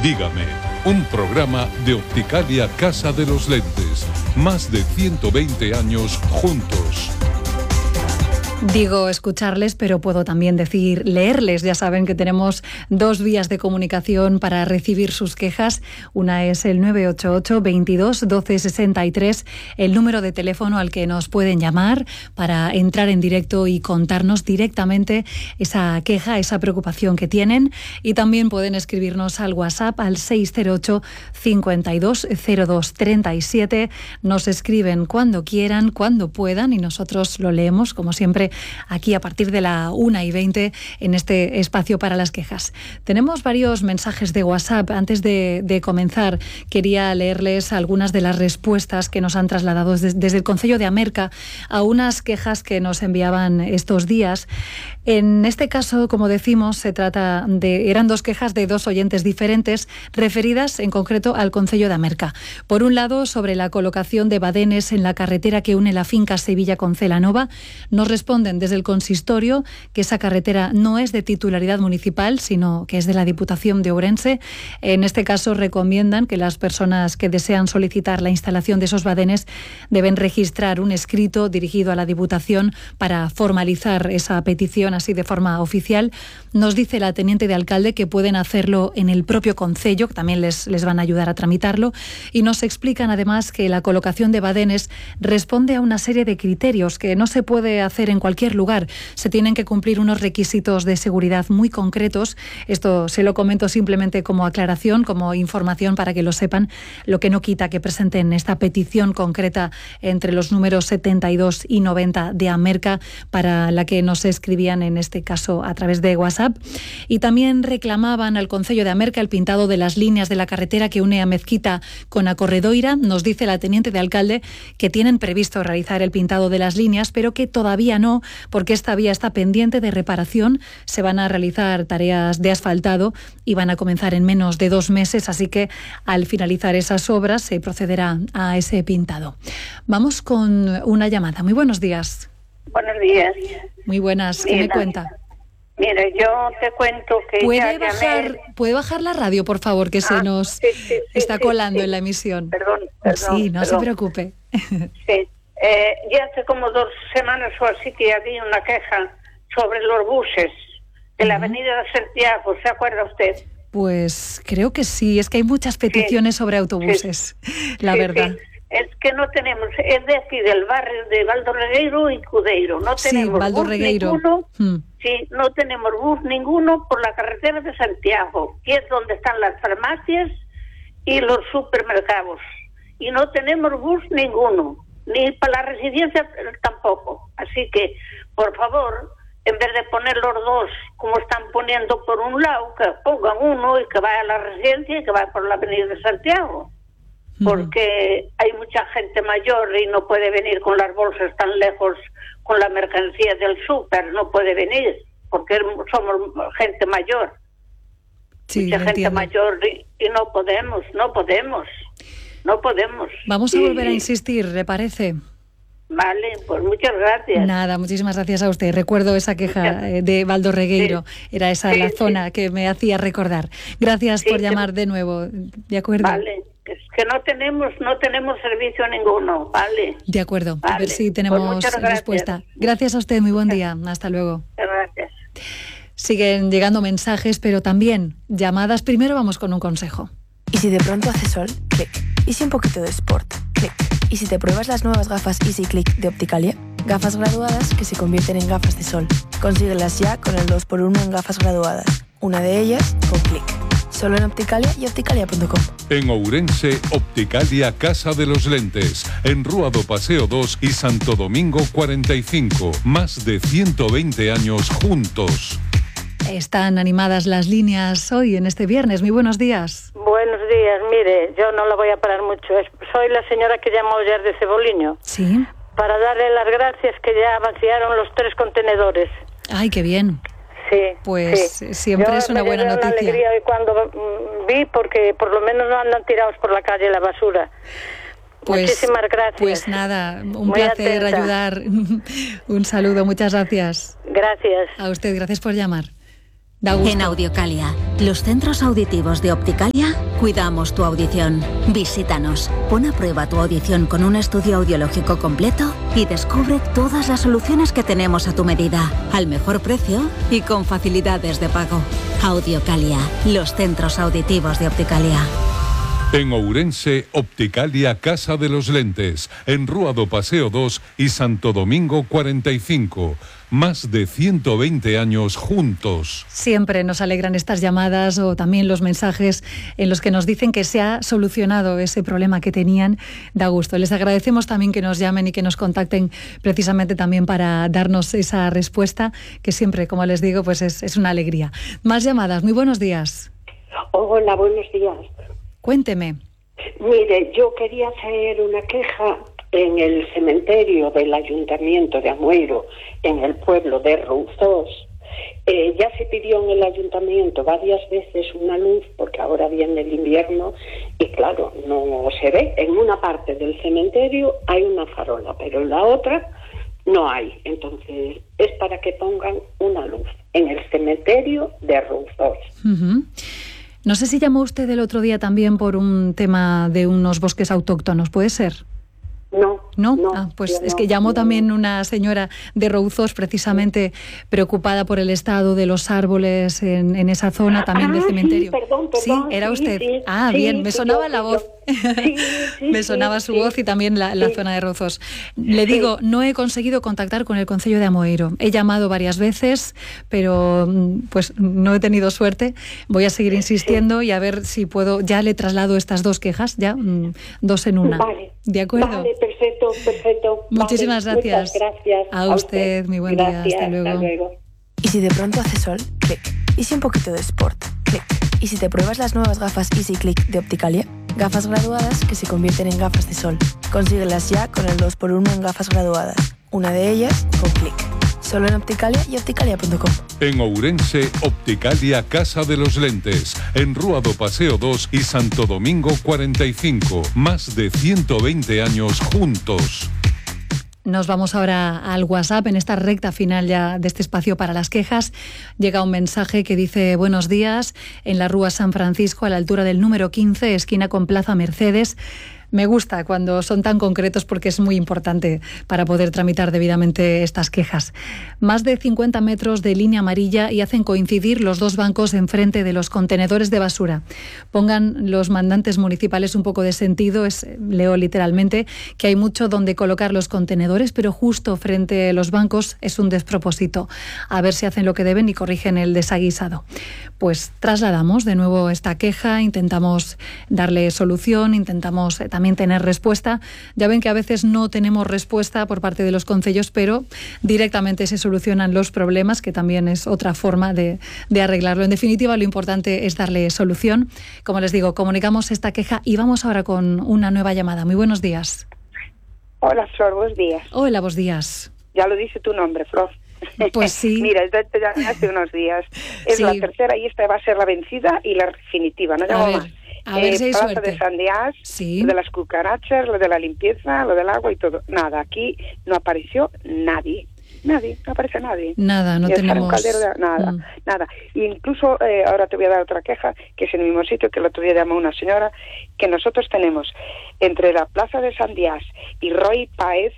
Dígame, un programa de Opticalia Casa de los Lentes. Más de 120 años juntos. Digo escucharles, pero puedo también decir leerles. Ya saben que tenemos dos vías de comunicación para recibir sus quejas. Una es el 988 22 12 63, el número de teléfono al que nos pueden llamar para entrar en directo y contarnos directamente esa queja, esa preocupación que tienen. Y también pueden escribirnos al WhatsApp al 608 52 02 37. Nos escriben cuando quieran, cuando puedan, y nosotros lo leemos, como siempre, aquí a partir de la 1:20 en este espacio para las quejas. Tenemos varios mensajes de WhatsApp. Antes de comenzar, quería leerles algunas de las respuestas que nos han trasladado desde el Concello de Amerca a unas quejas que nos enviaban estos días. En este caso, como decimos, eran dos quejas de dos oyentes diferentes referidas en concreto al Concello de Amerca. Por un lado, sobre la colocación de badenes en la carretera que une la finca Sevilla con Celanova, nos responden desde el consistorio que esa carretera no es de titularidad municipal, sino que es de la Diputación de Ourense. En este caso, recomiendan que las personas que desean solicitar la instalación de esos badenes deben registrar un escrito dirigido a la Diputación para formalizar esa petición así de forma oficial. Nos dice la teniente de alcalde que pueden hacerlo en el propio concello, que también les van a ayudar a tramitarlo, y nos explican además que la colocación de badenes responde a una serie de criterios que no se puede hacer en cualquier lugar. Se tienen que cumplir unos requisitos de seguridad muy concretos. Esto se lo comento simplemente como aclaración, como información para que lo sepan, lo que no quita que presenten esta petición concreta entre los números 72 y 90 de Amerca, para la que nos escribían en este caso a través de WhatsApp. Y también reclamaban al Concello de Amerca el pintado de las líneas de la carretera que une a Mezquita con a Corredoira. Nos dice la teniente de alcalde que tienen previsto realizar el pintado de las líneas, pero que todavía no, porque esta vía está pendiente de reparación. Se van a realizar tareas de asfaltado y van a comenzar en menos de 2 meses, así que al finalizar esas obras se procederá a ese pintado. Vamos con una llamada. Muy buenos días. Buenos días. Muy buenas. ¿Qué me cuenta? Mire, yo te cuento que ¿Puede bajar la radio, por favor, que se nos está colando en la emisión? Perdón. Sí, no se preocupe. Sí. Ya hace como 2 semanas o así que había una queja sobre los buses de la avenida de Santiago. ¿Se acuerda usted? Pues creo que sí. Es que hay muchas peticiones sobre autobuses, la verdad. Sí. Es que no tenemos, es de aquí del barrio de Valdo Regueiro y Cudeiro. No tenemos Valdo bus Regueiro. Ninguno. Sí, no tenemos bus ninguno por la carretera de Santiago, que es donde están las farmacias y los supermercados. Y no tenemos bus ninguno, ni para la residencia tampoco. Así que, por favor, en vez de poner los dos como están poniendo por un lado, que pongan uno y que vaya a la residencia y que vaya por la avenida de Santiago. Porque hay mucha gente mayor y no puede venir con las bolsas tan lejos con la mercancía del súper, no puede venir, porque somos gente mayor. Sí, mucha gente entiendo. mayor y no podemos. Vamos a volver a insistir, ¿le parece? Vale, pues muchas gracias. Nada, muchísimas gracias a usted. Recuerdo esa queja de Valdo Regueiro. Era esa la zona que me hacía recordar. Gracias por llamar de nuevo. ¿De acuerdo? Vale. Es que no tenemos servicio ninguno, ¿vale? De acuerdo, vale. A ver si tenemos respuesta. Gracias a usted, muy buen día. Hasta luego. Gracias. Siguen llegando mensajes, pero también llamadas. Primero vamos con un consejo. ¿Y si de pronto hace sol? Clic. ¿Y si un poquito de sport? Clic. ¿Y si te pruebas las nuevas gafas Easy Click de Opticalia? Gafas graduadas que se convierten en gafas de sol. Consíguelas ya con el 2x1 en gafas graduadas. Una de ellas con Clic. Solo en Opticalia y opticalia.com. En Ourense, Opticalia Casa de los Lentes. En Rúa do Paseo 2 y Santo Domingo 45. Más de 120 años juntos. Están animadas las líneas hoy, en este viernes. Muy buenos días. Buenos días. Mire, yo no la voy a parar mucho. Soy la señora que llamó ayer de Ceboliño. Sí. Para darle las gracias que ya vaciaron los 3 contenedores. Ay, qué bien. Sí. Pues sí. Siempre es una buena noticia. Una alegría hoy cuando vi, porque por lo menos no andan tirados por la calle la basura. Pues, muchísimas gracias. Pues nada, un Muy placer atenta. ayudar. Un saludo, muchas gracias. Gracias. A usted, gracias por llamar. Da gusto. En Audiocalia, los centros auditivos de Opticalia, cuidamos tu audición. Visítanos, pon a prueba tu audición con un estudio audiológico completo y descubre todas las soluciones que tenemos a tu medida, al mejor precio y con facilidades de pago. Audiocalia, los centros auditivos de Opticalia. En Ourense, Opticalia Casa de los Lentes, en Rúa do Paseo 2 y Santo Domingo 45. Más de 120 años juntos. Siempre nos alegran estas llamadas o también los mensajes en los que nos dicen que se ha solucionado ese problema que tenían. Da gusto. Les agradecemos también que nos llamen y que nos contacten precisamente también para darnos esa respuesta, que siempre, como les digo, pues es una alegría. Más llamadas. Muy buenos días. Hola, buenos días. Cuénteme. Mire, yo quería hacer una queja en el cementerio del Ayuntamiento de Amueiro, en el pueblo de Rouzós. Ya se pidió en el Ayuntamiento varias veces una luz, porque ahora viene el invierno y claro, no se ve. En una parte del cementerio hay una farola, pero en la otra no hay. Entonces es para que pongan una luz en el cementerio de Rouzós. Uh-huh. No sé si llamó usted el otro día también por un tema de unos bosques autóctonos, ¿puede ser? No. Pues es que llamó también una señora de Rouzós, precisamente preocupada por el estado de los árboles en esa zona también del cementerio. Sí, perdón, sí, era usted. Sí, bien, me sonaba la voz. Me sonaba su voz y también la zona de Rouzós. Le digo, no he conseguido contactar con el Concello de Amoeiro. He llamado varias veces, pero pues no he tenido suerte. Voy a seguir insistiendo y a ver si puedo. Ya le traslado estas dos quejas, ya, dos en una. Vale. ¿De acuerdo? Vale, perfecto. Muchísimas gracias. Muchas gracias. A usted, muy buen día. Hasta luego. Y si de pronto hace sol, clic. Y si un poquito de sport, clic. Y si te pruebas las nuevas gafas Easy Click de Opticalia, gafas graduadas que se convierten en gafas de sol. Consíguelas ya con el 2x1 en gafas graduadas. Una de ellas con clic. Solo en Opticalia y opticalia.com. En Ourense, Opticalia Casa de los Lentes, en Rúa do Paseo 2 y Santo Domingo 45. Más de 120 años juntos. Nos vamos ahora al WhatsApp, en esta recta final ya de este espacio para las quejas. Llega un mensaje que dice: buenos días, en la Rúa San Francisco, a la altura del número 15, esquina con Plaza Mercedes. Me gusta cuando son tan concretos porque es muy importante para poder tramitar debidamente estas quejas. Más de 50 metros de línea amarilla y hacen coincidir los dos bancos enfrente de los contenedores de basura. Pongan los mandantes municipales un poco de sentido, leo literalmente, que hay mucho donde colocar los contenedores, pero justo frente a los bancos es un despropósito. A ver si hacen lo que deben y corrigen el desaguisado. Pues trasladamos de nuevo esta queja, intentamos darle solución, intentamos también tener respuesta. Ya ven que a veces no tenemos respuesta por parte de los concellos, pero directamente se solucionan los problemas, que también es otra forma de arreglarlo. En definitiva, lo importante es darle solución. Como les digo, comunicamos esta queja y vamos ahora con una nueva llamada. Muy buenos días. Hola, Flor, buenos días. Hola, buenos días. Ya lo dice tu nombre, Flor. Pues sí. Mira, hace unos días. Es la tercera y esta va a ser la vencida y la definitiva, no llamo más. A ver si hay Plaza suerte. de Sandiás, Sí. Lo de las cucarachas, lo de la limpieza, lo del agua y todo. Nada, aquí no apareció nadie. Nadie, no aparece nadie. Nada, no y tenemos... un caldero nada. Y incluso, ahora te voy a dar otra queja, que es en el mismo sitio que el otro día llamó una señora, que nosotros tenemos entre la Plaza de Sandiás y Roy Páez,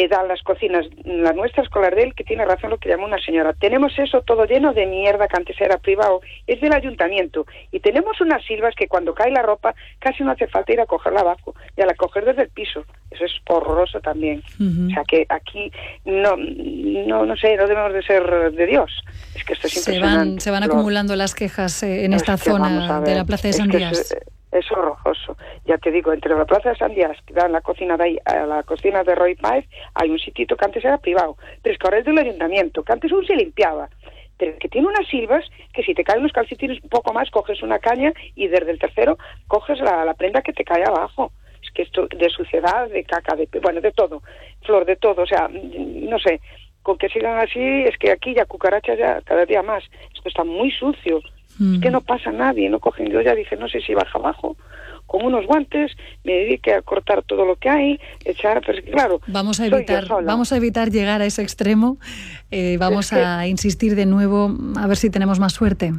dan las cocinas, la nuestra escolar de él, que tiene razón lo que llamó una señora. Tenemos eso todo lleno de mierda que antes era privado, es del ayuntamiento. Y tenemos unas silvas que cuando cae la ropa casi no hace falta ir a cogerla abajo, y a la coger desde el piso. Eso es horroroso también. Uh-huh. O sea que aquí no sé, no debemos de ser de Dios. Es que esto es impresionante. Se van acumulando las quejas en esta zona de la Plaza de Sandiás. Es horroroso. Ya te digo, entre la Plaza de Sandiás, que da la cocina de ahí a la cocina de Roy Páez, hay un sitito que antes era privado, pero es que ahora es del ayuntamiento, que antes aún se limpiaba, pero que tiene unas silvas que si te caen los calcetines un poco más, coges una caña y desde el tercero coges la prenda que te cae abajo. Es que esto de suciedad, de caca, de todo, Flor, de todo, o sea, no sé, con que sigan así, es que aquí ya cucarachas ya cada día más. Esto está muy sucio. Es que no pasa nadie, no cogen. Yo ya dije, no sé si baja abajo, con unos guantes, me dedique a cortar todo lo que hay, echar, pero es que claro, vamos a evitar llegar a ese extremo. Vamos a insistir de nuevo, a ver si tenemos más suerte.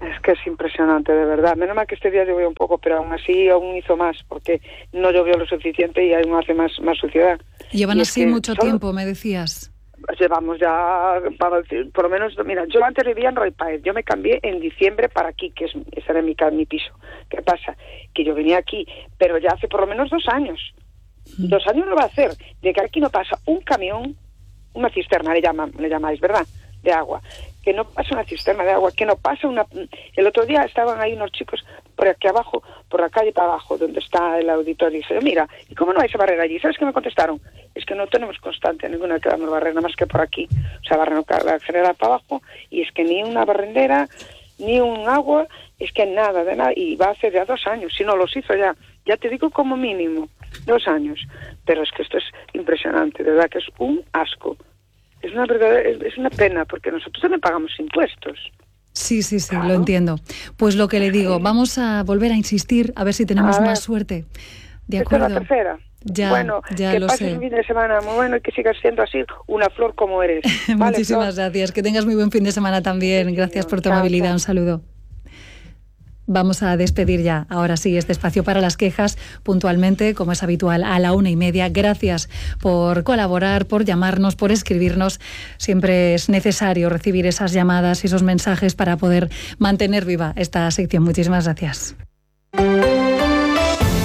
Es que es impresionante, de verdad. Menos mal que este día llovió un poco, pero aún así aún hizo más, porque no llovió lo suficiente y aún hace más suciedad. Llevan así mucho tiempo, me decías. Llevamos ya, por lo menos, mira, yo antes vivía en Roy Páez, yo me cambié en diciembre para aquí, que ese era mi piso. ¿Qué pasa? Que yo venía aquí, pero ya hace por lo menos 2 años. 2 años lo va a hacer, de que aquí no pasa un camión, una cisterna le llamáis, ¿verdad?, de agua, que no pasa una cisterna de agua, que no pasa una... El otro día estaban ahí unos chicos por aquí abajo, por la calle para abajo, donde está el auditorio, y dije, mira, ¿y cómo no vais a barrer allí? ¿Sabes qué me contestaron? Es que no tenemos constante ninguna que vamos a barrer, nada más que por aquí. O sea, barren la general para abajo, y es que ni una barrendera, ni un agua, es que nada, de nada, y va a hacer ya 2 años, si no los hizo ya te digo como mínimo, 2 años. Pero es que esto es impresionante, de verdad que es un asco. Es una pena, porque nosotros también pagamos impuestos. Sí, claro. Lo entiendo. Pues lo que le digo, vamos a volver a insistir, a ver si tenemos más suerte. De acuerdo. Esta es la tercera. Ya que lo pases sé. un fin de semana muy bueno y que sigas siendo así una flor como eres. Muchísimas gracias. Que tengas muy buen fin de semana también. Gracias por tu amabilidad. Un saludo. Vamos a despedir ya, ahora sí, este espacio para las quejas, puntualmente, como es habitual, a la 1:30. Gracias por colaborar, por llamarnos, por escribirnos. Siempre es necesario recibir esas llamadas y esos mensajes para poder mantener viva esta sección. Muchísimas gracias.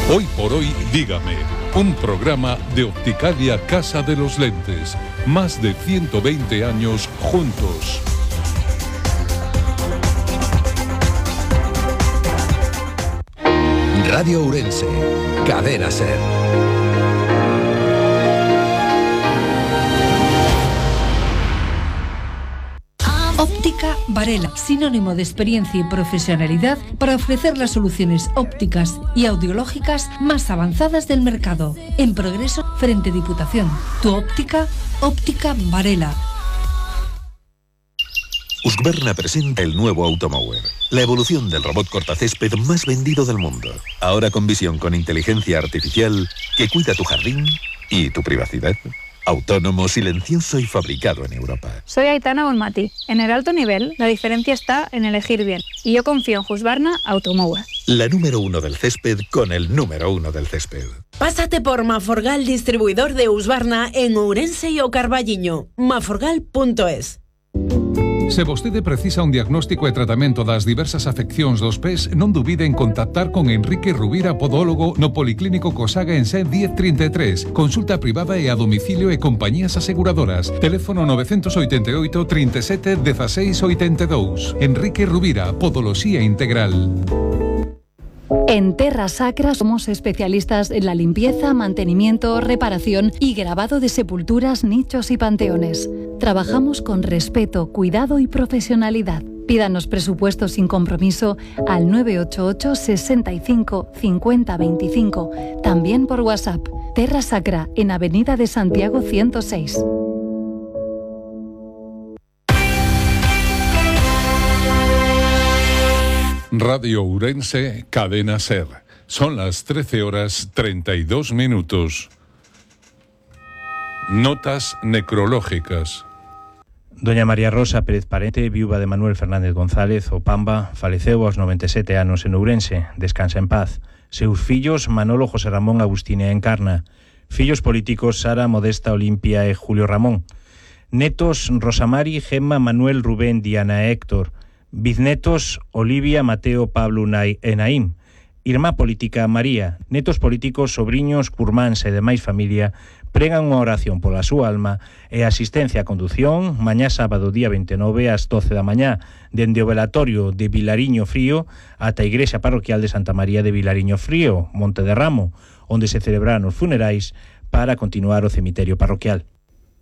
Hoy por hoy, dígame, un programa de Opticalia Casa de los Lentes. Más de 120 años juntos. Radio Ourense, Cadena SER. Óptica Varela, sinónimo de experiencia y profesionalidad para ofrecer las soluciones ópticas y audiológicas más avanzadas del mercado. En Progreso, frente Diputación. Tu óptica, Óptica Varela. Husqvarna presenta el nuevo Automower, la evolución del robot cortacésped más vendido del mundo. Ahora con visión con inteligencia artificial que cuida tu jardín y tu privacidad. Autónomo, silencioso y fabricado en Europa. Soy Aitana Bonmati. En el alto nivel, la diferencia está en elegir bien. Y yo confío en Husqvarna Automower. La número 1 del césped con el número 1 del césped. Pásate por Maforgal, distribuidor de Husqvarna en Ourense y o Carballiño. maforgal.es. Se vostede precisa un diagnóstico e tratamento das diversas afeccións dos pés, non dubide en contactar con Enrique Rubira, podólogo, no Policlínico Cosaga en Sen 1033. Consulta privada e a domicilio e compañías aseguradoras. Teléfono 988 37 16 82. Enrique Rubira, Podoloxía Integral. En Terra Sacra somos especialistas en la limpieza, mantenimiento, reparación y grabado de sepulturas, nichos y panteones. Trabajamos con respeto, cuidado y profesionalidad. Pídanos presupuesto sin compromiso al 988 65 50 25. También por WhatsApp. Terra Sacra, en Avenida de Santiago 106. Radio Ourense, Cadena SER. Son las 13:32. Notas necrológicas. Doña María Rosa Pérez Parente, viúva de Manuel Fernández González, o Pamba, faleceu aos 97 anos en Ourense. Descansa en paz. Seus fillos, Manolo, José Ramón, Agustín e Encarna. Fillos políticos, Sara, Modesta, Olimpia e Julio Ramón. Netos, Rosamari, Gemma, Manuel, Rubén, Diana e Héctor. Biznetos, Olivia, Mateo, Pablo e Naím. Irmá política, María. Netos políticos, sobriños, curmáns e demais familia pregan unha oración pola súa alma e asistencia a condución mañá sábado día 29 ás 12 da mañá dende o velatorio de Vilariño Frío ata a Igrexa Parroquial de Santa María de Vilariño Frío, Monte de Ramo, onde se celebrarán os funerais para continuar o cemiterio parroquial.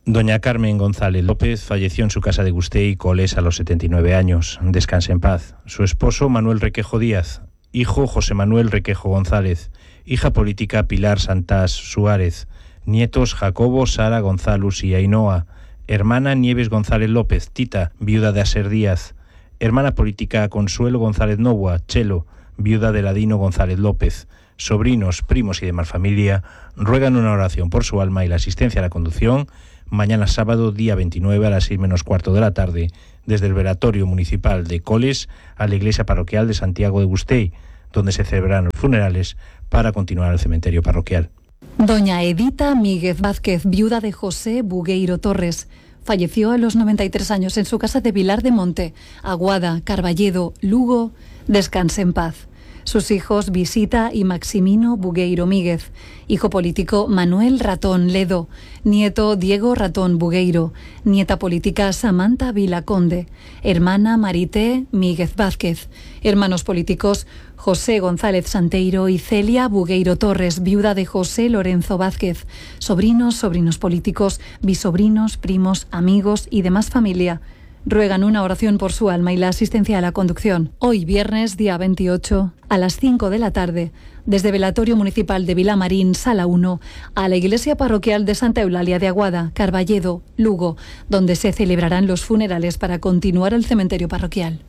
Doña Carmen González López falleció en su casa de Gustei, Coles, a los 79 años. Descanse en paz. Su esposo, Manuel Requejo Díaz. Hijo, José Manuel Requejo González. Hija política, Pilar Santás Suárez. Nietos, Jacobo, Sara, González y Ainhoa. Hermana, Nieves González López, Tita, viuda de Aser Díaz. Hermana política Consuelo González Novoa, Chelo, viuda de Ladino González López. Sobrinos, primos y demás familia ruegan una oración por su alma y la asistencia a la conducción mañana sábado, día 29 a las 6:15 de la tarde, desde el velatorio municipal de Coles a la iglesia parroquial de Santiago de Gustei, donde se celebrarán los funerales para continuar al cementerio parroquial. Doña Edita Míguez Vázquez, viuda de José Bugueiro Torres, falleció a los 93 años en su casa de Vilar de Monte, Aguada, Carballedo, Lugo. Descanse en paz. Sus hijos Visita y Maximino Bugueiro Míguez, hijo político Manuel Ratón Ledo, nieto Diego Ratón Bugueiro, nieta política Samantha Vilaconde, hermana Marité Míguez Vázquez, hermanos políticos José González Santeiro y Celia Bugueiro Torres, viuda de José Lorenzo Vázquez, sobrinos políticos, bisobrinos, primos, amigos y demás familia. Ruegan una oración por su alma y la asistencia a la conducción. Hoy, viernes, día 28, a las 5 de la tarde, desde Velatorio Municipal de Vilamarín, Sala 1, a la Iglesia Parroquial de Santa Eulalia de Aguada, Carballedo, Lugo, donde se celebrarán los funerales para continuar al cementerio parroquial.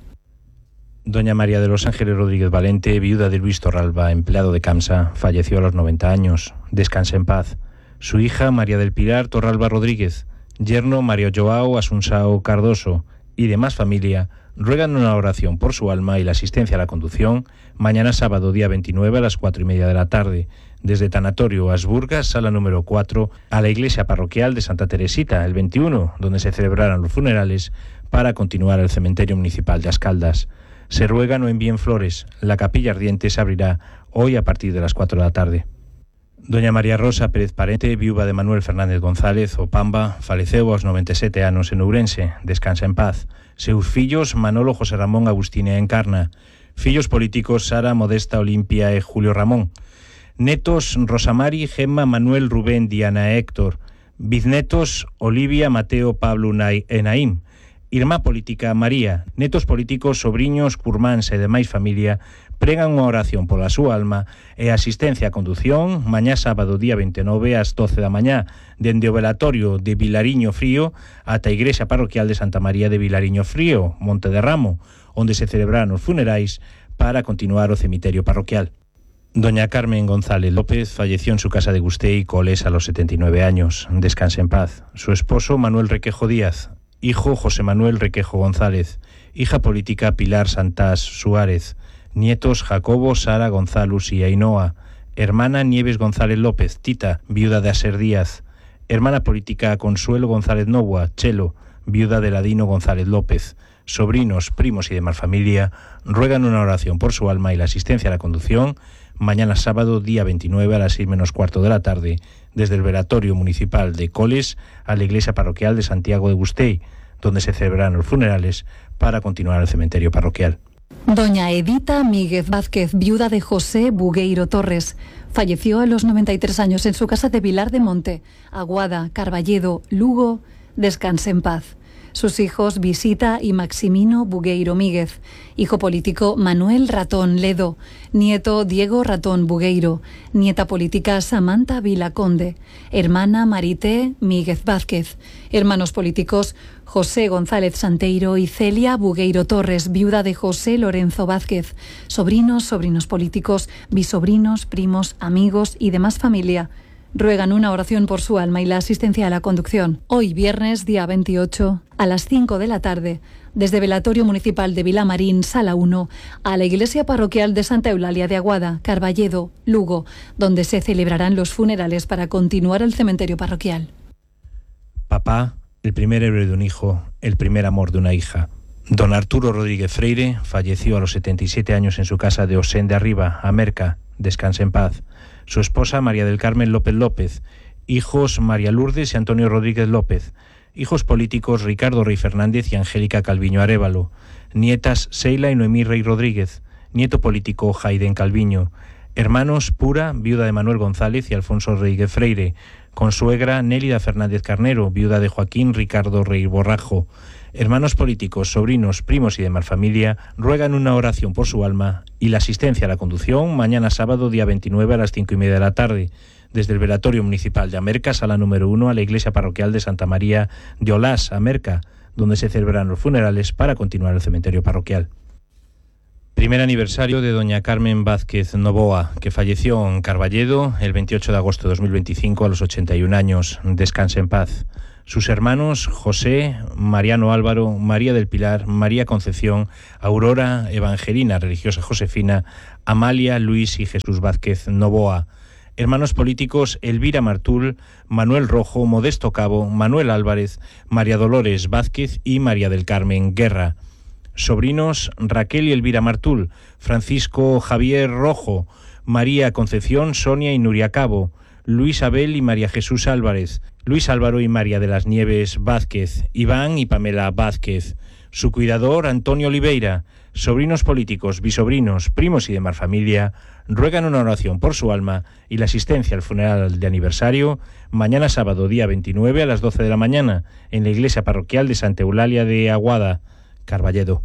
Doña María de los Ángeles Rodríguez Valente, viuda de Luis Torralba, empleado de CAMSA, falleció a los 90 años. Descanse en paz. Su hija, María del Pilar Torralba Rodríguez, yerno Mario Joao Asunsao Cardoso y demás familia ruegan una oración por su alma y la asistencia a la conducción mañana sábado, día 29 a las 4:30 de la tarde, desde Tanatorio Asburgas, sala número 4, a la iglesia parroquial de Santa Teresita, el 21, donde se celebrarán los funerales para continuar al cementerio municipal de Ascaldas. Se ruega no envíen flores. La capilla ardiente se abrirá hoy a partir de las 4 de la tarde. Doña María Rosa Pérez Parente, viuva de Manuel Fernández González, o Pamba, faleceu aos 97 anos en Ourense. Descansa en paz. Seus fillos Manolo José Ramón Agustín e Encarna. Fillos políticos Sara Modesta Olimpia e Julio Ramón. Netos Rosamari, Gemma, Manuel, Rubén, Diana e Héctor. Biznetos Olivia, Mateo, Pablo e Naim. Irmá política María. Netos políticos, sobriños, curmáns e demais familia pregan unha oración pola súa alma e asistencia a condución mañá sábado, día 29 ás 12 da mañá, dende o velatorio de Vilariño Frío ata a igrexa parroquial de Santa María de Vilariño Frío, Monte de Ramo, onde se celebrarán os funerais para continuar o cemiterio parroquial. Doña Carmen González López falleció en su casa de Gustei, Coles, a los 79 años. Descanse en paz. Su esposo Manuel Requejo Díaz, hijo José Manuel Requejo González, hija política Pilar Santás Suárez, nietos Jacobo, Sara, González y Ainhoa, hermana Nieves González López, Tita, viuda de Aser Díaz, hermana política Consuelo González Novoa, Chelo, viuda de Ladino González López, sobrinos, primos y demás familia ruegan una oración por su alma y la asistencia a la conducción mañana sábado, día 29 a las 6:15 de la tarde, desde el velatorio municipal de Coles a la iglesia parroquial de Santiago de Gustei, donde se celebrarán los funerales para continuar al cementerio parroquial. Doña Edita Míguez Vázquez, viuda de José Bugueiro Torres, falleció a los 93 años en su casa de Vilar de Monte, Aguada, Carballedo, Lugo. Descanse en paz. Sus hijos Visita y Maximino Bugueiro Míguez, hijo político Manuel Ratón Ledo, nieto Diego Ratón Bugueiro, nieta política Samantha Vilaconde, hermana Marité Míguez Vázquez, hermanos políticos José González Santeiro y Celia Bugueiro Torres, viuda de José Lorenzo Vázquez, sobrinos políticos, bisobrinos, primos, amigos y demás familia. Ruegan una oración por su alma y la asistencia a la conducción. Hoy, viernes, día 28, a las 5 de la tarde, desde Velatorio Municipal de Vilamarín, Sala 1, a la Iglesia Parroquial de Santa Eulalia de Aguada, Carballedo, Lugo, donde se celebrarán los funerales para continuar al cementerio parroquial. Papá, el primer héroe de un hijo, el primer amor de una hija. Don Arturo Rodríguez Freire falleció a los 77 años en su casa de Osén de Arriba, Amerca. Descanse en paz. Su esposa María del Carmen López López, hijos María Lourdes y Antonio Rodríguez López, hijos políticos Ricardo Rey Fernández y Angélica Calviño Arévalo, nietas Seila y Noemí Rey Rodríguez, nieto político Jaiden Calviño, hermanos Pura, viuda de Manuel González y Alfonso Rodríguez Freire, consuegra Nélida Fernández Carnero, viuda de Joaquín Ricardo Rey Borrajo. Hermanos políticos, sobrinos, primos y demás familia ruegan una oración por su alma y la asistencia a la conducción mañana sábado, día 29 a las 5:30 de la tarde, desde el velatorio municipal de Amerca, sala número 1, a la iglesia parroquial de Santa María de Olás, Amerca, donde se celebran los funerales para continuar el cementerio parroquial. Primer aniversario de doña Carmen Vázquez Novoa, que falleció en Carballedo el 28 de agosto de 2025 a los 81 años. Descanse en paz. Sus hermanos José, Mariano Álvaro, María del Pilar, María Concepción, Aurora Evangelina Religiosa Josefina, Amalia, Luis y Jesús Vázquez Novoa. Hermanos políticos Elvira Martul, Manuel Rojo, Modesto Cabo, Manuel Álvarez, María Dolores Vázquez y María del Carmen Guerra. Sobrinos Raquel y Elvira Martul, Francisco Javier Rojo, María Concepción, Sonia y Nuria Cabo, Luis Abel y María Jesús Álvarez, Luis Álvaro y María de las Nieves Vázquez, Iván y Pamela Vázquez, su cuidador Antonio Oliveira. Sobrinos políticos, bisobrinos, primos y demás familia ruegan una oración por su alma y la asistencia al funeral de aniversario mañana sábado día 29 a las 12 de la mañana en la iglesia parroquial de Santa Eulalia de Aguada, Carballedo.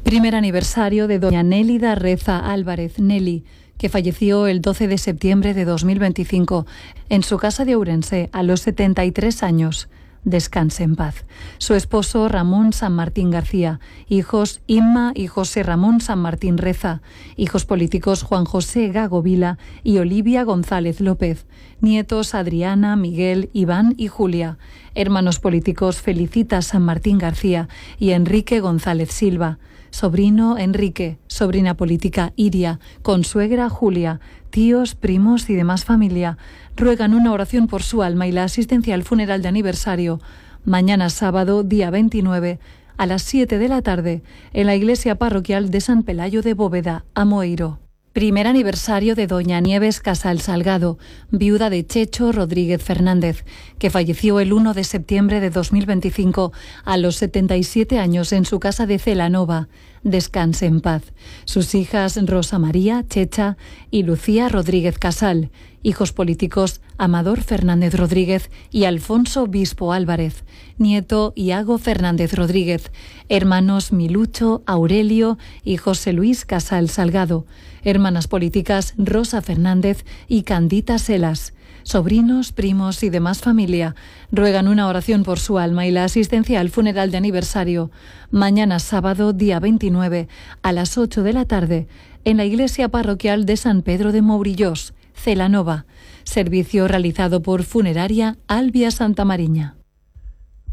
Primer aniversario de doña Nélida Reza Álvarez, Nelly, que falleció el 12 de septiembre de 2025 en su casa de Ourense a los 73 años. Descanse en paz. Su esposo Ramón San Martín García, hijos Inma y José Ramón San Martín Reza, hijos políticos Juan José Gago Vila y Olivia González López, nietos Adriana, Miguel, Iván y Julia, hermanos políticos Felicita San Martín García y Enrique González Silva, sobrino Enrique, sobrina política Iria, consuegra Julia, tíos, primos y demás familia ruegan una oración por su alma y la asistencia al funeral de aniversario mañana sábado, día 29, a las 7 de la tarde, en la iglesia parroquial de San Pelayo de Bóveda, Amoeiro. Primer aniversario de doña Nieves Casal Salgado, viuda de Checho Rodríguez Fernández, que falleció el 1 de septiembre de 2025 a los 77 años en su casa de Celanova. Descanse en paz. Sus hijas Rosa María, Checha y Lucía Rodríguez Casal, hijos políticos Amador Fernández Rodríguez y Alfonso Bispo Álvarez, nieto Iago Fernández Rodríguez, hermanos Milucho, Aurelio y José Luis Casal Salgado, hermanas políticas Rosa Fernández y Candita Selas, sobrinos, primos y demás familia ruegan una oración por su alma y la asistencia al funeral de aniversario mañana sábado, día 29, a las 8 de la tarde, en la iglesia parroquial de San Pedro de Mourillós, Celanova. Servicio realizado por Funeraria Albia Santa Mariña.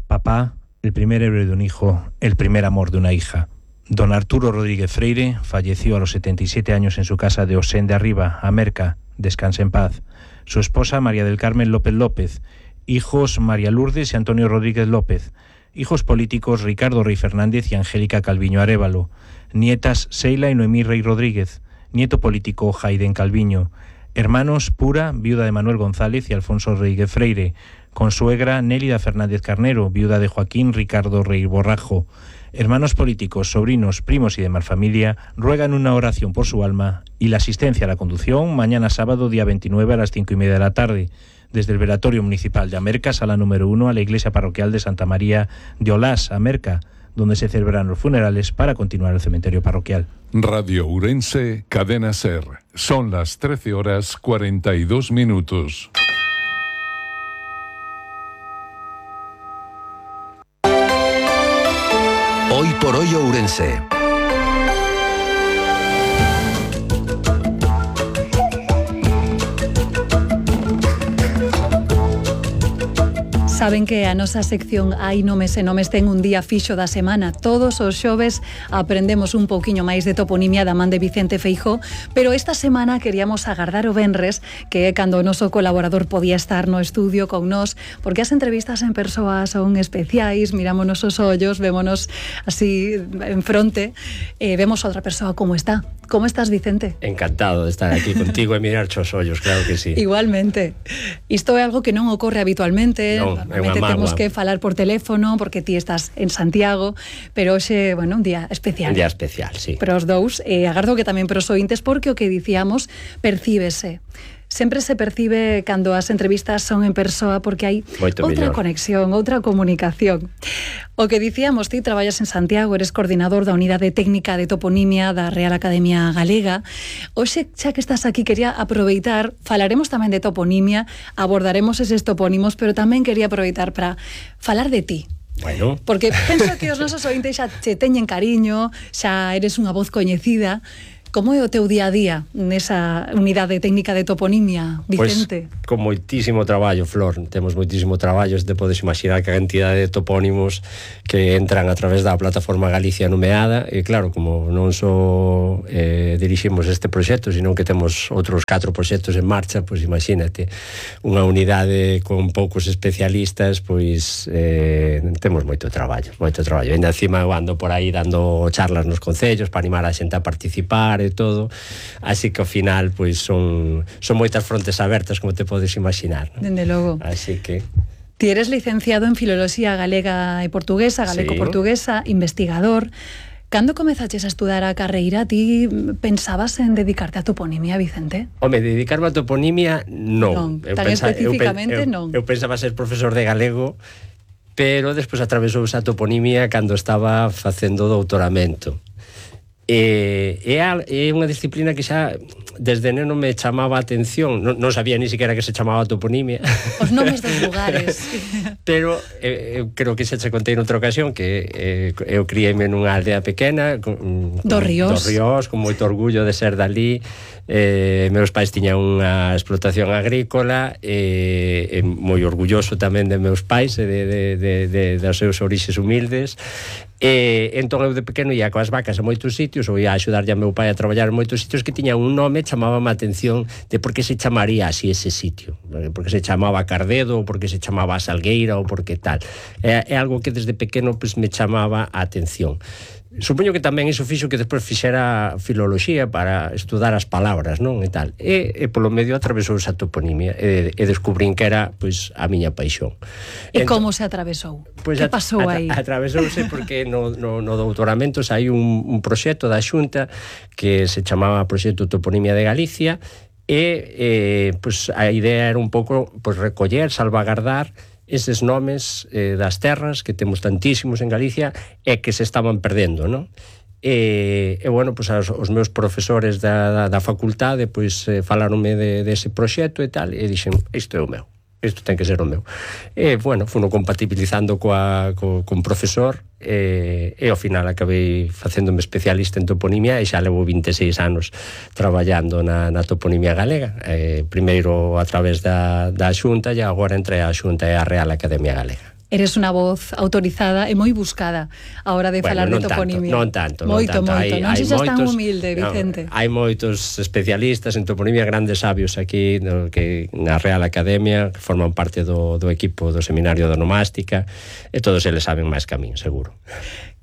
Papá, el primer héroe de un hijo, el primer amor de una hija. Don Arturo Rodríguez Freire falleció a los 77 años en su casa de Osén de Arriba, Amerca. Descanse en paz. Su esposa María del Carmen López López, hijos María Lourdes y Antonio Rodríguez López, hijos políticos Ricardo Rey Fernández y Angélica Calviño Arévalo, nietas Seila y Noemí Rey Rodríguez, nieto político Jaiden Calviño, hermanos Pura, viuda de Manuel González y Alfonso Rodríguez Freire, consuegra Nélida Fernández Carnero, viuda de Joaquín Ricardo Rey Borrajo. Hermanos políticos, sobrinos, primos y demás familia ruegan una oración por su alma y la asistencia a la conducción mañana sábado día 29 a las 5:30 de la tarde, desde el velatorio municipal de Amerca, sala número 1, a la iglesia parroquial de Santa María de Olás, Amerca, donde se celebran los funerales para continuar el cementerio parroquial. Radio Ourense, Cadena SER. Son las 13:42. Hoy por hoy Ourense. Saben que a nosa sección Hai nomes e nomes ten un día fixo da semana. Todos os xoves aprendemos un pouquiño máis de toponimia da man de Vicente Feijóo, pero esta semana queríamos agardar o venres, que é cando o noso colaborador podía estar no estudio con nós, porque as entrevistas en persoa son especiais, mirámonos os ollos, vémonos así en fronte, vemos a outra persoa como está. Como estás, Vicente? Encantado de estar aquí contigo e mirar os ollos, claro que sí. Igualmente. Isto é algo que non ocorre habitualmente. Non, normalmente temos que falar por teléfono porque ti estás en Santiago, pero hoxe, bueno, un día especial. Un día especial, sí. Pero os dous, agardo que tamén para os ointes, porque o que dicíamos percíbese. Sempre se percibe cando as entrevistas son en persoa porque hai outra conexión, outra comunicación. O que dicíamos, ti traballas en Santiago, eres coordinador da Unidade Técnica de Toponimia da Real Academia Galega. Hoxe, xa que estás aquí, quería aproveitar, falaremos tamén de toponimia, abordaremos eses topónimos, pero tamén quería aproveitar para falar de ti. Bueno. Porque penso que os nosos ointes xa te teñen cariño, xa eres unha voz coñecida. Como é o teu día a día nesa unidade técnica de toponimia, Vicente? Pois, con moitísimo traballo, Flor. Temos moitísimo traballo, te podes imaginar que a cantidade de topónimos que entran a través da plataforma Galicia Nomeada, e claro, como non só diriximos este proxecto, sino que temos outros 4 proxectos en marcha, pois imagínate, unha unidade con poucos especialistas, pois temos moito traballo. Ainda encima eu ando por aí dando charlas nos concellos para animar a xente a participar e todo, así que ao final pois son moitas frontes abertas, como te podes imaginar, ¿no? Dende logo. Así que ti eres licenciado en Filoloxía Galega e Portuguesa, galego-portuguesa, investigador. Cando comezaches a estudar a carreira, ti pensabas en dedicarte a toponimia, Vicente? Home, dedicarme a toponimia, non. Tan especificamente, non. Eu pensaba ser profesor de galego, pero despois atravesouse a toponimia cando estaba facendo doutoramento. É unha disciplina que xa desde neno me chamaba a atención, non sabía ni siquiera que se chamaba toponimia, os nomes dos lugares. Pero eu creo que xa che contei noutra ocasión que eu criei-me nunha aldea pequena do Ríos, con moito orgullo de ser dali. Meus pais tiñan unha explotación agrícola, moi orgulloso tamén de meus pais e dos seus orixes humildes. Entón eu de pequeno ia coas vacas a moitos sitios, ou ia a axudarlle a meu pai a traballar en moitos sitios que tiñan un nome, chamábame a atención de por que se chamaría así ese sitio, porque se chamaba Cardedo, ou porque se chamaba Salgueira, ou porque tal. É algo que desde pequeno pues, me chamaba a atención. Supoño que tamén iso fixo que despois fixera filoloxía para estudar as palabras, non? E tal. E polo medio atravesouse a toponimia e descubrín que era pois a miña paixón. E como se atravesou? Pois que pasou aí? Atravesouse porque no doutoramento hai un proxecto da Xunta que se chamaba Proxecto Toponimia de Galicia e pois a idea era un pouco pois recoller, salvagardar eses nomes das terras que temos tantísimos en Galicia e que se estaban perdendo, non? E bueno, pues os meus profesores da facultade pois falaronme dese proxecto e tal, e dixen, isto é o meu, isto ten que ser o meu. E bueno, funo compatibilizando con profesor e ao final acabei facéndome especialista en toponimia e xa levo 26 anos traballando na toponimia galega, primeiro a través da Xunta e agora entre a Xunta e a Real Academia Galega. Eres unha voz autorizada e moi buscada a hora de falar de toponimia. Non tanto. Moito. Non sei se es tan humilde, Vicente. Hai moitos especialistas en toponimia, grandes sabios aquí que na Real Academia que forman parte do equipo do Seminario de Onomástica e todos eles saben máis que a min, seguro.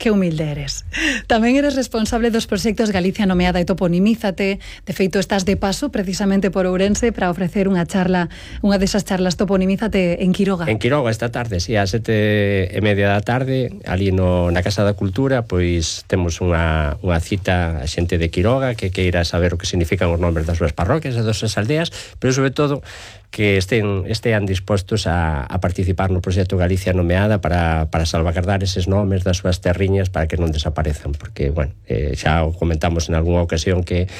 Que humilde eres. Tamén eres responsable dos proxectos Galicia Nomeada e Toponimízate. De feito, estás de paso precisamente por Ourense para ofrecer unha charla, unha desas charlas Toponimízate en Quiroga. En Quiroga esta tarde, si, ás 7:30 da tarde, ali na Casa da Cultura, pois temos unha cita a xente de Quiroga que queira saber o que significan os nombres das súas parroquias e das súas aldeas, pero sobre todo que estean dispostos a participar no proxecto Galicia Nomeada para salvagardar eses nomes das súas terriñas para que non desaparezan, porque, bueno, xa o comentamos en algunha ocasión que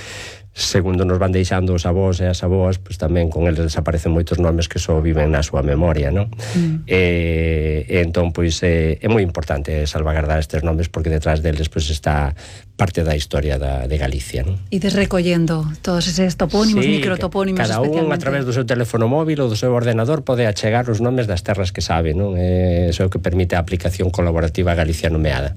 segundo nos van deixando os avós e as avoas, pois tamén con eles desaparecen moitos nomes que só viven na súa memoria, non? Entón, pois, é moi importante salvagardar estes nomes porque detrás deles pois está parte da historia de Galicia, non? Ides recollendo todos eses topónimos, microtopónimos especialmente. Cada un a través do seu teléfono móvil ou do seu ordenador pode achegar os nomes das terras que sabe, non? Iso é o que permite a aplicación colaborativa Galicia Nomeada.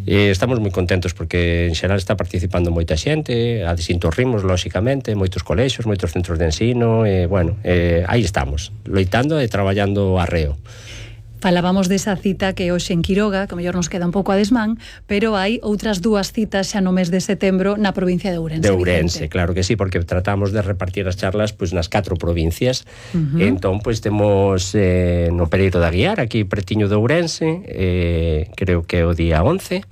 Estamos moi contentos porque en xeral está participando moita xente, a distintos ritmos, lóxicamente, moitos colexios, moitos centros de ensino, bueno, aí estamos, loitando e traballando arreo. Falábamos desa cita que hoxe en Quiroga, que a mellor nos queda un pouco a desmán, pero hai outras dúas citas xa no mes de setembro na provincia de Ourense. De Ourense, claro que sí, porque tratamos de repartir as charlas pois nas 4 provincias. Entón, pois temos no Pereiro da Guiar, aquí pretiño de Ourense, creo que é o día 11,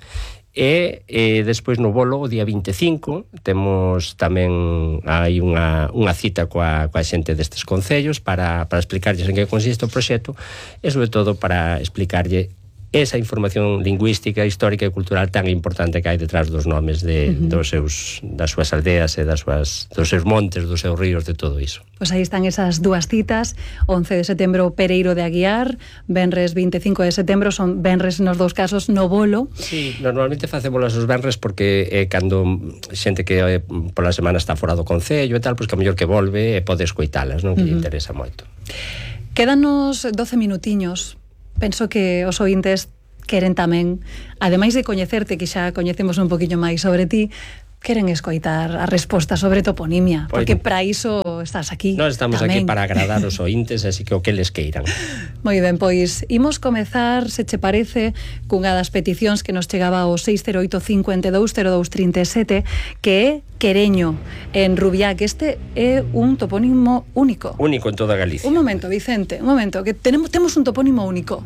e despois no Bolo o día 25 temos tamén hai unha cita coa xente destes concellos para explicarlles en que consiste o proxecto e sobre todo para explicarlle esa información lingüística, histórica e cultural tan importante que hai detrás dos nomes das súas aldeas e dos seus montes, dos seus ríos, de todo iso. Pois aí están esas dúas citas, 11 de setembro Pereiro de Aguiar, venres 25 de setembro, son venres nos dous casos no Bolo. Sí, normalmente facémolas os venres porque cando xente que pola semana está fora do concello e tal, pois que a mellor que volve e pode escoitalas, non? Que lle interesa moito. Quédanos 12 minutiños. Penso que os ointes queren tamén, ademais de coñecerte, que xa coñecemos un poquinho máis sobre ti, queren escoitar a resposta sobre toponimia, porque para iso estás aquí. Nós estamos tamén aquí para agradar os ointes, así que o que les queiran. Moi ben, pois imos comezar, se che parece, cunha das peticións que nos chegaba ao 608 52 02 37, que é Quereño, en Rubiá, que este é un topónimo único. Único en toda Galicia. Un momento, Vicente, un momento, que temos un topónimo único.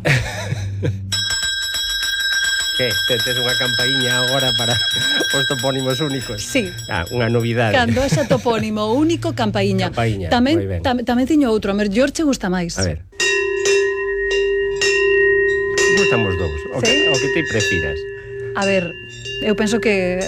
Que tes unha campaíña agora para os topónimos únicos? Sí. Unha novidade. Cando esa topónimo único, campaíña. Tamén tiño outro, a mellor che gusta máis. A ver. Gustamos dous. O que te prefiras. A ver, eu penso que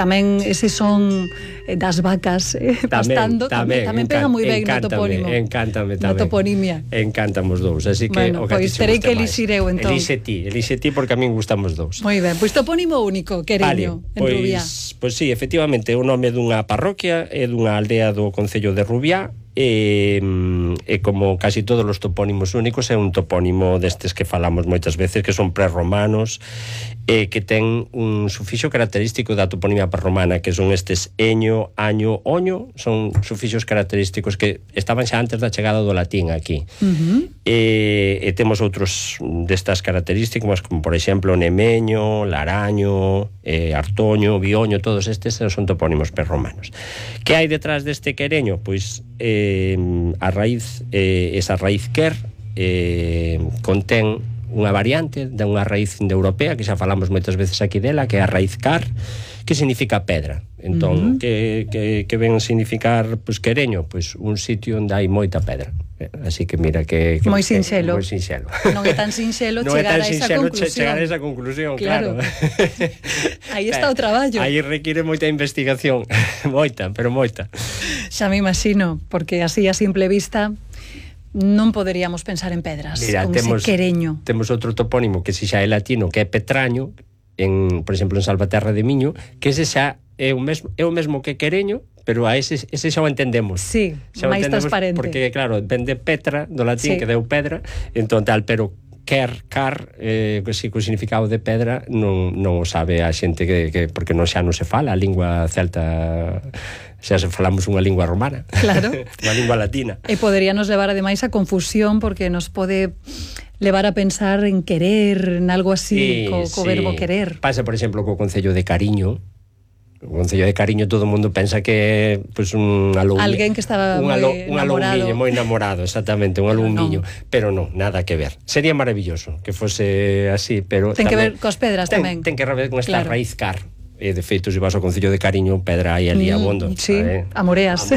tamén ese son das vacas pastando tamén pega moi ben no topónimo. Encántame tamén. Na toponimia. Encántamos dous, así que bueno, pois terei que elixir eu entón. Elixe ti, porque a min gustamos dous. Moi ben, pois topónimo único, Quereño, en Rubiá. Pois sí, efectivamente, o nome dunha parroquia e dunha aldea do concello de Rubiá. E como casi todos os topónimos únicos, é un topónimo destes que falamos moitas veces, que son prerromanos, que ten un sufixo característico da toponimia prerromana, que son estes eño, año, oño, son sufixos característicos que estaban xa antes da chegada do latín aquí. E temos outros destas características, como por exemplo nemeño, laraño, artoño, bioño, todos estes son topónimos prerromanos. Que hai detrás deste Quereño? Pois a raíz, esa raíz quer contén unha variante de unha raíz indoeuropea que xa falamos moitas veces aquí dela, que é a raíz car, que significa pedra. Entón, que ven significar Quereño? Pois un sitio onde hai moita pedra. Así que mira que moi sinxelo. Moi sinxelo. Non é tan sinxelo chegar a esa conclusión. Claro. Aí está o traballo. Aí require moita investigación, pero moita. Xa me imagino, porque así a simple vista non poderíamos pensar en pedras. Mira, con ese Quereño. Temos outro topónimo que si xa é latino, que é Petraño, por exemplo, en Salvaterra de Miño, que ese xa é o mesmo que Quereño, pero a ese xa o entendemos. Sí, máis transparente. Porque, claro, ven de Petra, do latín, que deu pedra, entón tal, pero car, co significado de pedra non o sabe a xente que porque xa non se fala a lingua celta, xa se falamos unha lingua romana. Claro. Unha lingua latina. E poderíanos levar ademais a confusión, porque nos pode levar a pensar en querer, en algo así, co verbo querer. Pasa, por exemplo, co concello de Cariño. O concello de Cariño todo o mundo pensa que é un alumiño. Alguén que estaba moi enamorado, exactamente, un alumiño, pero non, nada que ver. Sería maravilloso que fose así, pero ten que ver cos pedras tamén. Ten que ver con esta raíz car. E de feito, se vas ao concello de Cariño, pedra hai ali abondo. Sí, amoreas.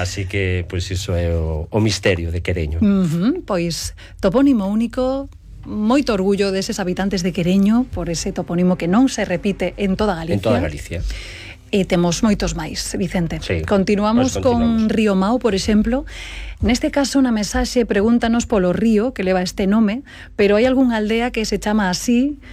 Así que, pois iso é o misterio de Quereño. Pois topónimo único. Moito orgullo deses habitantes de Quereño por ese topónimo que non se repite en toda Galicia. En toda Galicia. E temos moitos máis, Vicente. Sí, continuamos con Río Mao, por exemplo. Neste caso, na mensaxe pregúntanos polo río que leva este nome, pero hai algunha aldea que se chama así.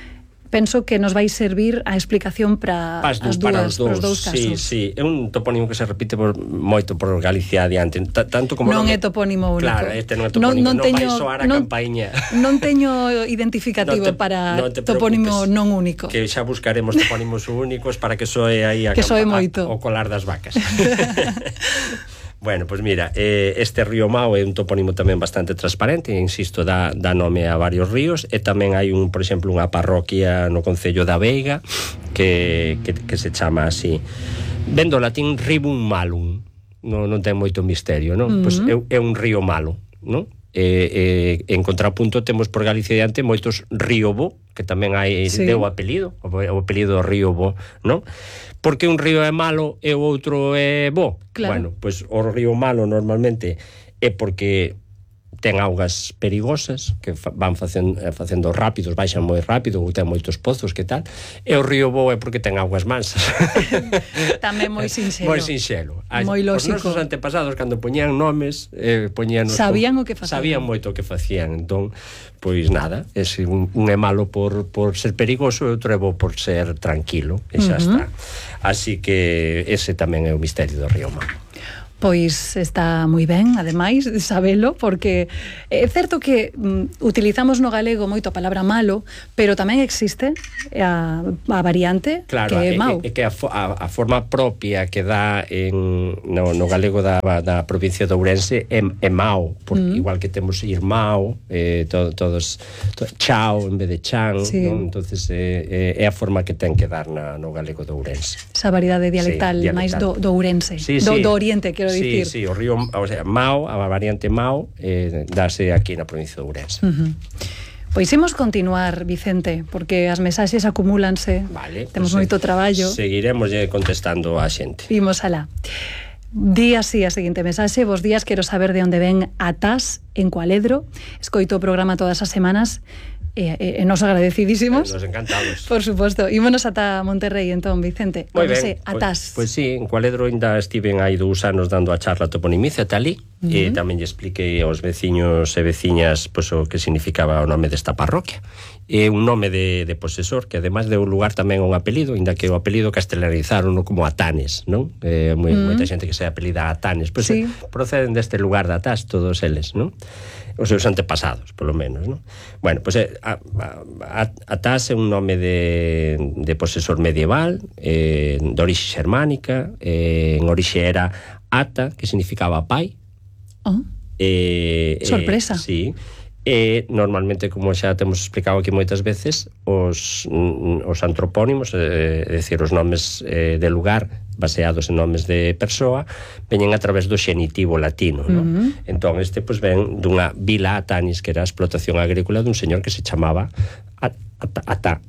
Penso que nos vai servir a explicación para os dous casos. Sí, é un topónimo que se repite moito por Galicia adiante, tanto como non é topónimo único. Claro, este non é topónimo, non vai soar a campaíña. Non teño identificativo para topónimo non único. Que xa buscaremos topónimos únicos para que soe aí o colar das vacas. Bueno, pois mira, este río Mao é un topónimo tamén bastante transparente, insisto, dá nome a varios ríos, e tamén hai por exemplo, unha parroquia no concello da Veiga que se chama así. Ven do latín ribum malum, non ten moito misterio, non? Pois é un río malo, non? En contrapunto temos por Galicia diante moitos río bo, que tamén hai deu apelido, o apelido río bo, non? Porque un río é malo e o outro é bo. Claro. Bueno, pois o río malo normalmente é porque ten augas perigosas que van facendo rápidos, baixan moi rápido, ou ten moitos pozos, que tal, e o río Bo é porque ten augas mansas. Tamén moi sinxelo. Moi sinxelo. Moi lógico. Os nosos antepasados, cando poñían nomes, sabían o que facían. Sabían moito o que facían. Entón, pois nada, un é malo por ser perigoso e outro é bo por ser tranquilo, e xa está. Así que ese tamén é o misterio do río Mao. Pois está moi ben, ademais, sabelo, porque é certo que utilizamos no galego moito a palabra malo, pero tamén existe a variante, claro, que é Mao. É que a forma propia que dá no galego da provincia de Ourense é Mao, igual que temos Irmao, todos chao en vez de chan, sí. Non? Entonces é a forma que ten que dar no galego de Ourense. Esa variedade dialectal, sí, máis do Ourense, sí, do Oriente, quero dicir. Sí, o río, o sea, Mao, a variante Mao, dáse aquí na provincia de Ourense. Pois imos continuar, Vicente, porque as mensaxes acumúlanse. Vale. Temos moito traballo. Seguiremos contestando a xente. Imos alá. Di así a seguinte mensaxe: bos días, quero saber de onde ven Atás en Cualedro. Escoito o programa todas as semanas. Nos agradecidísimos. Nos encantados. Por suposto. Ímonos ata Monterrey, entón, Vicente. Moi ben. Atás. Pois sí, en Cualedro ainda estiven hai 2 anos dando a charla Toponimicia Talí, e tamén lle expliquei aos veciños e veciñas pois, o que significaba o nome desta parroquia. É un nome de posesor, que ademais deu lugar tamén a un apelido, ainda que o apelido castelanizaron como Atanes, non? Moita xente que se apelida Atanes, pois sí. Proceden deste lugar de Atás, todos eles, non? Os seus antepasados, polo menos, non? Bueno, pois Atás é un nome de posesor medieval, de orixe xermánica, en orixe era Ata, que significaba pai. Sorpresa. Sí. Normalmente, como xa temos explicado aquí moitas veces, os antropónimos, é dicir, os nomes de lugar baseados en nomes de persoa, veñen a través do xenitivo latino, non? Entón, este pois ven dunha vila Atanis, que era a explotación agrícola dun señor que se chamaba Atá.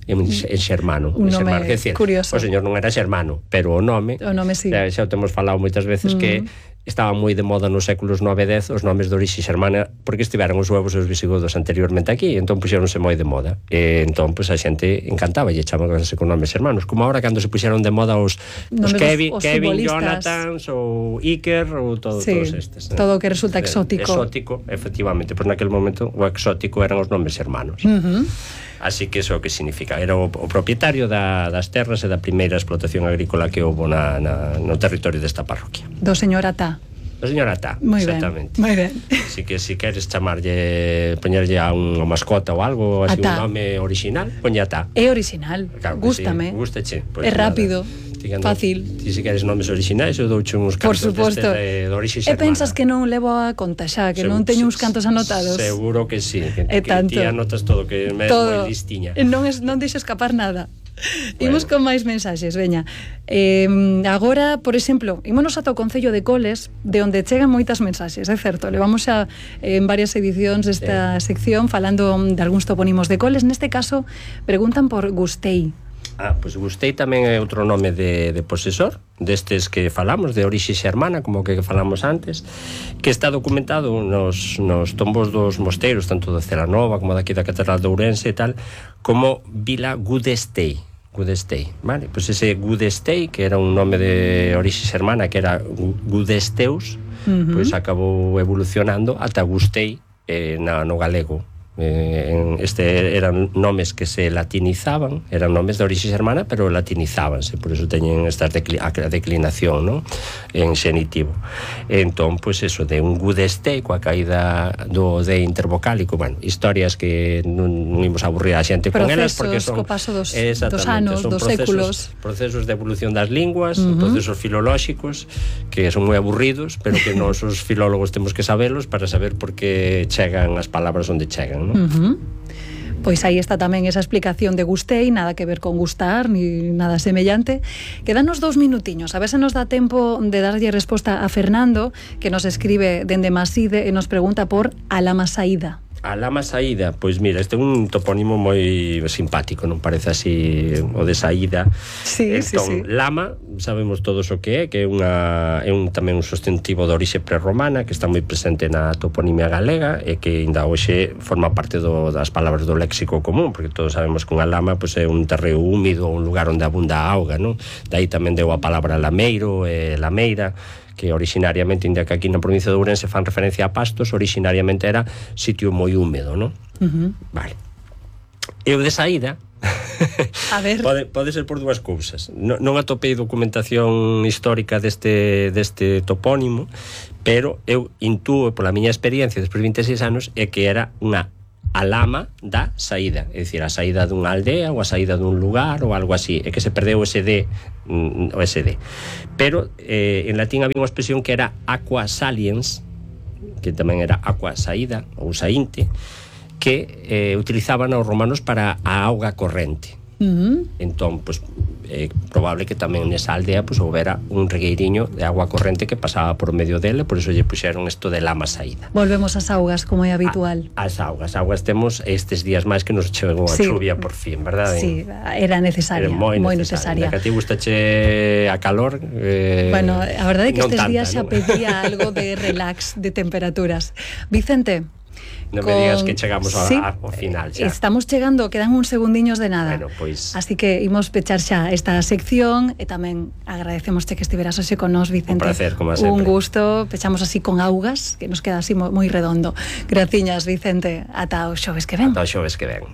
En xermano. Un nome curioso. O señor non era xermano, pero o nome sí. Xa o temos falado moitas veces que estaba moi de moda nos séculos 9 e 10 os nomes de orixe xermana, porque estiveron os huevos e os visigodos anteriormente aquí, entón puxeronse moi de moda, entón a xente encantaba e chamabanse con nomes xermanos, como ahora cando se puxeron de moda os Kevin, Jonathan ou Iker ou todos estes, todo o que resulta exótico, efectivamente, pois naquel momento o exótico eran os nomes xermanos. Así que eso que significa, era o propietario das terras e da primeira explotación agrícola que houve no territorio desta parroquia. Do señor Atá. Do señor Atá, exactamente. Moi ben. Así que se queres poñerlle a unha mascota ou algo, así un nome original, poñe Atá. É original, claro, gústame. Sí, gústache. É rápido. Fácil. Ti se queres nomes originais, eu douche uns cantos de orixe xermana. E pensas que non levo a conta xa, que non teño uns cantos anotados? Seguro que sí, que ti anotas todo, que me moi listiña. Non deixo escapar nada. Imos con máis mensaxes, veña. Agora, por exemplo, ímonos ata o Concello de Coles, de onde chegan moitas mensaxes, é certo. Levamos xa en varias edicións desta sección falando de algúns topónimos de Coles. Neste caso, preguntan por Gustei. Pois Gustei tamén é outro nome de posesor, destes que falamos, de orixe xermana, como que falamos antes, que está documentado nos tombos dos mosteiros, tanto de Celanova como daqui da Catedral de Ourense e tal, como Vila Gudestei, vale? Pois ese Gudestei, que era un nome de orixe xermana, que era Gudesteus, pois acabou evolucionando ata Gustei no galego. Eran nomes que se latinizaban, eran nomes de orixe xermana, pero latinizábanse, por eso teñen esta declinación, non? En xenitivo. Entón, pois eso, de un Gudestei coa caída do de intervocálico, bueno, historias que non imos aburrir a xente con elas, porque son co paso dos anos, dos séculos, procesos de evolución das linguas, procesos filolóxicos que son moi aburridos, pero que nós os filólogos temos que sabelos para saber por que chegan as palabras onde chegan, non? Pois aí está tamén esa explicación de Gustei, nada que ver con gustar ni nada semellante. Quedanos 2 minutiños, a ver se nos dá tempo de darlle resposta a Fernando, que nos escribe dende Maside e nos pregunta por Alamasaída. A lama saída, pois mira, este é un topónimo moi simpático, non parece así o de saída. Sí, entón, sí. lama, sabemos todos o que é tamén un substantivo de orixe prerromana que está moi presente na toponimia galega e que ainda hoxe forma parte das palabras do léxico común, porque todos sabemos que unha lama pois, é un terreo húmido, un lugar onde abunda a auga, non? De aí tamén deu a palabra lameiro e lameira, que originariamente, inda que aquí na provincia de Ourense fan referencia a pastos, originariamente era sitio moi húmedo, non? Vale. E o de saída a ver. pode ser por dúas cousas. Non atopei documentación histórica deste topónimo, pero eu intúo pola miña experiencia despois de 26 anos é que era unha alama da saída, é dicir, a saída dunha aldea ou a saída dun lugar ou algo así, é que se perdeu o SD, pero en latín había unha expresión que era aqua saliens, que tamén era aqua saída ou saínte, que utilizaban os romanos para a auga corrente. Entón, pues, é probable que tamén nesa aldea pues, houbera un regueiriño de agua corrente que pasaba por medio dele, por eso lle puxeron isto de lama saída. Volvemos ás augas, como é habitual. As augas temos estes días máis que nos chegou a chuvia por fin, verdade? Sí, era necesaria, moi necesaria. Que a ti gustache a calor, bueno, a verdade é que estes días xa ¿no? pedía algo de relax, de temperaturas. Vicente, non me digas que chegamos ao final xa. Estamos chegando, quedan uns segundiños de nada. Bueno, pois... Así que imos pechar xa esta sección e tamén agradecémoste que estiveras hoxe con nos, Vicente. Un placer, como sempre. Un gusto, pechamos así con augas, que nos queda así moi redondo. Graciñas, Vicente. Ata o xoves que ven. Ata o xoves que ven.